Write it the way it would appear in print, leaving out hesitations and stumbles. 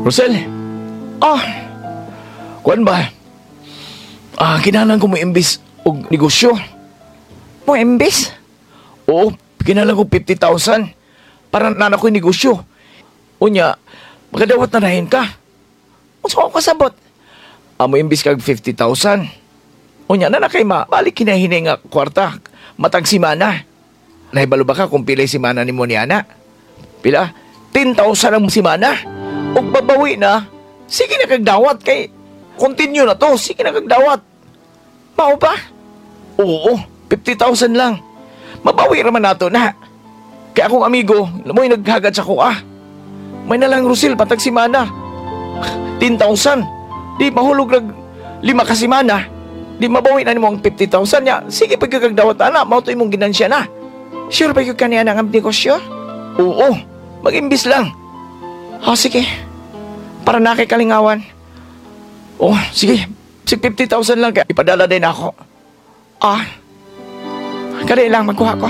Rosel. Ah. Kuan ba? Ah, kinahanglan ko mo imbis og negosyo. Mo imbis? Oo, kinahanglan ko 50,000 para nana ko'y negosyo. Unya, makadawat na dahin ka. Unsa ko kasabot? Amo imbis kag 50,000. Unya na na kay ma, balik kinahinay nga kwarta. Matag simana. Nahibalo ba ka kung pilay simana ni mo ni ana? Pila? 10,000 ang simana. Og babawi na, sige na kag dawat kay continue na to, sige na kag dawat. Mao ba? Oo, 50,000 lang. Mabawi raman nato na. Kaya akong amigo, mo'y naghagad sa kuha. May nalang Rusil, patag simana. 10,000. Di mahulog nag 5 ka simana. Di mabawi na nimo ang 50,000 niya. Sige, pagkakagdawat ana, mao to imong ginansya na. Sure ba gyud kaniya ang negosyo? Oo, mag-imbis lang. Oh, sige. Para na kay kalingawan. Oh, sige. Sig 50,000 lang kaya ipadala din ako. Ah. Kadi lang magkuha ko.